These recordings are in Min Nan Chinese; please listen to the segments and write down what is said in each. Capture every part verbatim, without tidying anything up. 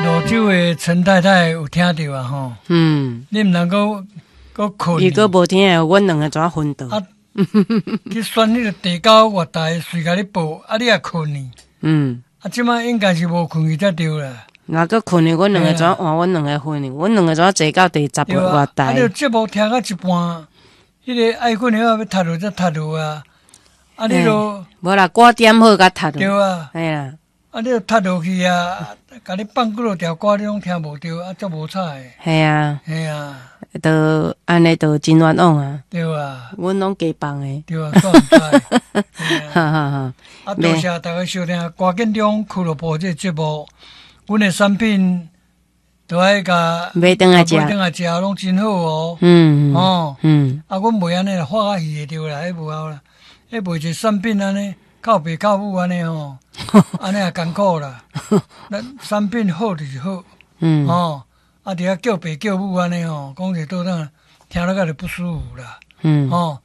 蘆洲的陳太太有聽著啊吼？嗯，你毋通閣閣睏。伊閣無聽，阮兩个怎昏倒？啊，去選彼个第九月台，隨共你報，啊，你也睏呢？嗯。啊，這擺應該是無睏去才對啦。若閣睏呢，阮兩个怎換？阮兩个昏呢？阮兩个怎坐到第十個月台？啊，你節目聽到一半，彼个愛睏的欲踢落才踢落啊！啊，你都無啦，歌點好才踢落。對啊。嘿啦。啊，你著踢落去啊！共你放幾落條歌，你攏聽無著，啊，足無彩的。嘿啊。嘿啊。都按呢，都真冤枉啊！對啊。阮攏加放的。對啊，煞毋知。哈哈哈！啊，多謝大家收聽歌建中俱樂部這个節目。阮的產品都愛共買轉來食，買轉來食，攏真好哦。嗯。哦。嗯。啊，阮袂按呢發較魚的對啦，彼無效啦。彼賣一个產品按呢，靠爸靠母按呢吼，按呢也艱苦啦。咱產品好就是好。嗯。哦，啊，佇遐叫爸叫母按呢吼，講者倒轉聽了較就不舒服啦。嗯。哦，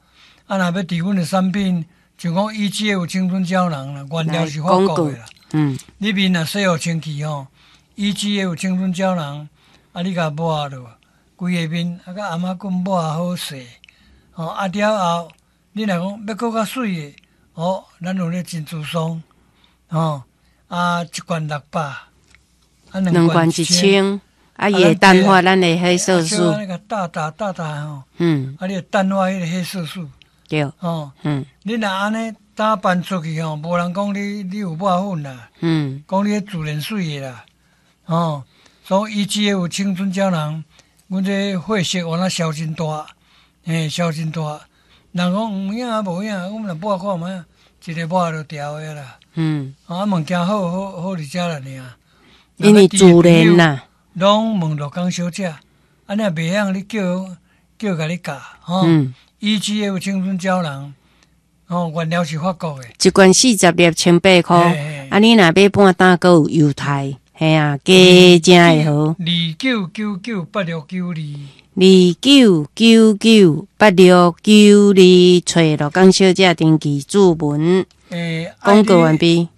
啊，若欲佇阮的產品，像講 E G F 青春膠囊啦，原料是法國的啦。嗯。你面若洗予清氣吼，E G F 青春膠囊，啊，你共抹落，規个面啊，佮頷仔骨抹好勢，吼，啊了後，你若講欲閣較媠的，哦，咱有咧珍珠霜，吼，啊，一罐六百，啊，兩罐一千，啊，伊會淡化咱的黑色素。那個大打大打吼，嗯，啊，你會淡化彼个黑色素，對，吼，嗯，你若按呢打扮出去吼，無人講你你有抹粉啦，嗯，講你自然媠的啦，吼，所以 E G F 青春膠囊，阮這血色原來消真大，嘿，消真大。人講有影啊無影，阮若抹看覓，一个抹就牢的啦。嗯，啊，物件好好好佇遮啦爾。因為自然啦，攏問陸江小姐，啊，你若袂曉，你叫叫共你教，吼。嗯。 E G F 青春膠囊，吼，原料是法國的。一罐四十粒千八箍，啊，你若買半擔，閣有優待，嘿啊，加正會好。二九九九八六九二。二九九九八六九二，揣陸江小姐登記注文。欸，廣告完畢。